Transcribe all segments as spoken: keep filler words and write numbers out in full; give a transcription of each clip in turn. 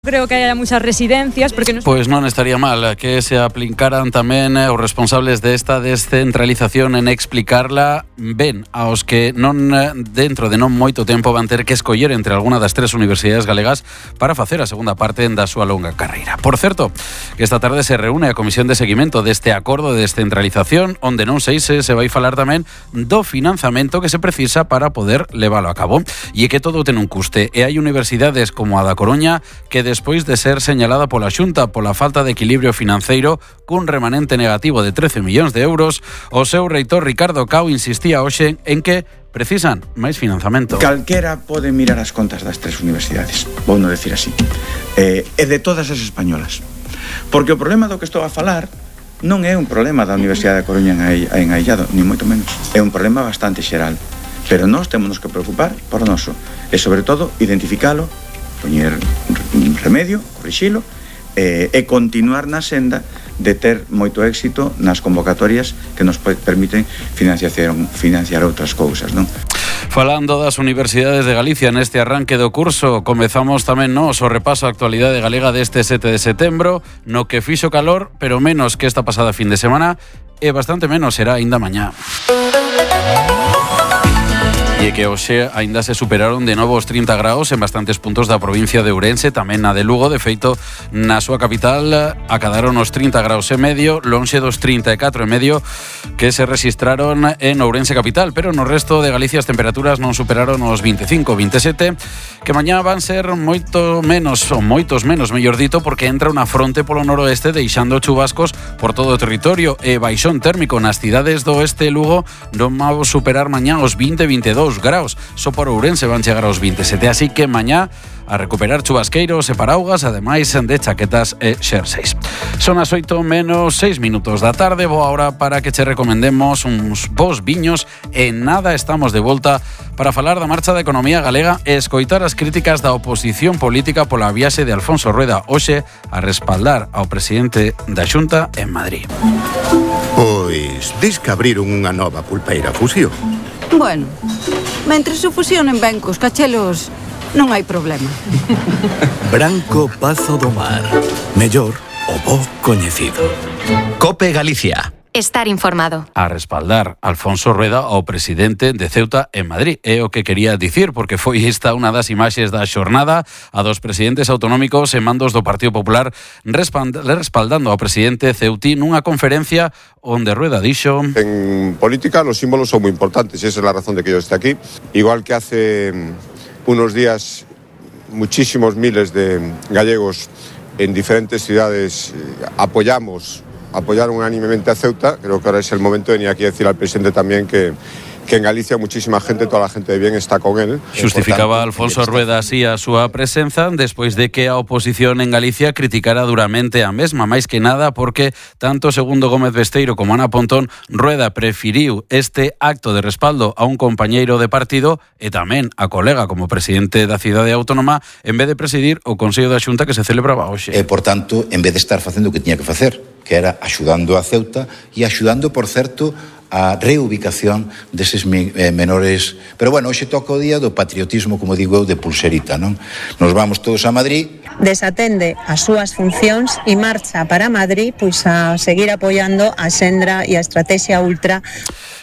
Creo que haya muchas residencias porque nos... Pois non estaría mal que se aplicaran tamén os responsables desta descentralización en explicarla ben aos que non dentro de non moito tempo van ter que escoller entre alguna das tres universidades galegas para facer a segunda parte da súa longa carreira. Por certo, que esta tarde se reúne a Comisión de Seguimento deste acordo de descentralización onde non sei se se vai falar tamén do financiamento que se precisa para poder leválo a cabo. E é que todo ten un custe e hai universidades como a da Coruña que despois de ser señalada pola Xunta pola falta de equilibrio financeiro cun remanente negativo de trece millóns de euros, o seu reitor Ricardo Cao insistía hoxe en que precisan máis financiamento. Calquera pode mirar as contas das tres universidades, vou non decir así, eh, e de todas as españolas. Porque o problema do que estou a falar non é un problema da Universidade da Coruña en Aillado, ni moito menos. É un problema bastante xeral. Pero nós temos que preocupar por o noso. E, sobre todo, identificalo, poñer remedio, corrixilo eh, e continuar na senda de ter moito éxito nas convocatorias que nos permiten financiar, financiar outras cousas, non? Falando das universidades de Galicia neste arranque do curso, comezamos tamén nós o repaso á actualidade galega deste sete de setembro, no que fixo calor, pero menos que esta pasada fin de semana, e bastante menos será aínda mañá. E que hoxe aínda se superaron de novo os trinta graus en bastantes puntos da provincia de Ourense, tamén na de Lugo. De feito, na súa capital acadaron os trinta graus e medio, lonxe dos trinta e catro e medio que se registraron en Ourense capital, pero no resto de Galicia as temperaturas non superaron os veinticinco, veintisiete, que mañá van ser moito menos, ou moitos menos, mellor dito, porque entra unha fronte polo noroeste deixando chubascos por todo o territorio e baixón térmico nas cidades do oeste e Lugo non vamos superar mañá os vinte, veintidós graus, só por Ourense van chegar aos veintisiete, así que mañá a recuperar chubasqueiros e paraugas, ademais de chaquetas e xerseis. Son as oito menos seis minutos da tarde, boa hora para que che recomendemos uns bons viños e nada estamos de volta para falar da marcha da economía galega e escoitar as críticas da oposición política pola viaxe de Alfonso Rueda hoxe a respaldar ao presidente da Xunta en Madrid. Pois, dis que abriron unha nova pulpeira Fusión. Bueno, mentre se fusionen ben cos cachelos, non hai problema. Branco Pazo do Mar. Mellor o bo coñecido. Cope Galicia. Estar informado. A respaldar Alfonso Rueda ao presidente de Ceuta en Madrid. É o que quería dicir, porque foi esta unha das imaxes da xornada a dos presidentes autonómicos e mandos do Partido Popular respaldando ao presidente ceutí nunha conferencia onde Rueda dixo: En política los símbolos son muy importantes y esa es la razón de que yo esté aquí. Igual que hace unos días muchísimos miles de gallegos en diferentes ciudades apoyamos apoyaron unánimemente a Ceuta, creo que ahora es el momento de venir aquí a decir al presidente también que, que en Galicia muchísima gente, toda la gente de bien está con él. Xustificaba Alfonso Rueda así a súa presenza despois de que a oposición en Galicia criticara duramente a mesma, máis que nada porque tanto segundo Gómez Besteiro como Ana Pontón, Rueda preferiu este acto de respaldo a un compañeiro de partido e tamén a colega como presidente da cidade autónoma en vez de presidir o Consello da Xunta que se celebraba hoxe. E, por tanto, en vez de estar facendo o que tiña que facer, que era axudando a Ceuta e axudando, por certo, a reubicación deses menores. Pero, bueno, hoxe toca o día do patriotismo, como digo eu, de pulserita, non? Nos vamos todos a Madrid. Desatende as súas funcións e marcha para Madrid pois a seguir apoiando a Sendra e a Estrategia Ultra.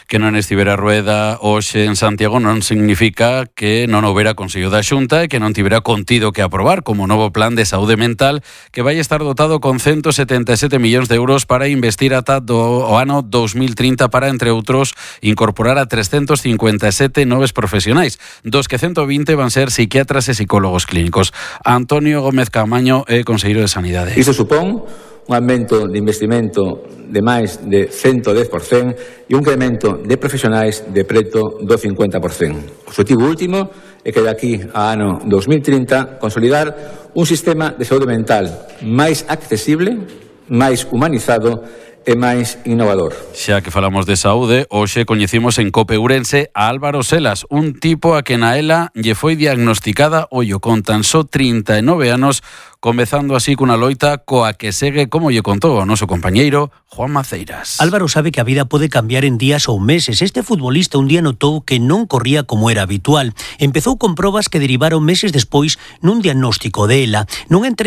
Que non estivera Rueda hoxe en Santiago non significa que non houbera Consello da Xunta e que non tivera contido que aprobar como novo plan de saúde mental que vai estar dotado con ciento setenta e sete millóns de euros para investir ata do ano dos mil trinta para, entre outros, incorporar a trescentos cincuenta e sete noves profesionais, dos que ciento vinte van ser psiquiatras e psicólogos clínicos. Antonio Gómez Camaño é conselleiro de Sanidade. Iso supón un aumento de investimento de máis de ciento dez por cento e un incremento de profesionais de preto do cincuenta por cento. O objetivo último é que de aquí a ano dos mil trinta consolidar un sistema de saúde mental máis accesible, máis humanizado e máis innovador. Xa que falamos de saúde, hoxe coñecimos en Cope Ourense a Álvaro Selas, un tipo a que na ela lle foi diagnosticada, ollo, con tan só trinta e nove anos, comezando así cunha loita coa que segue, como lle contou o noso compañeiro Juan Maceiras. Álvaro sabe que a vida pode cambiar en días ou meses. Este futbolista un día notou que non corría como era habitual. Empezou con probas que derivaron meses despois nun diagnóstico de ela. Nunha entrevista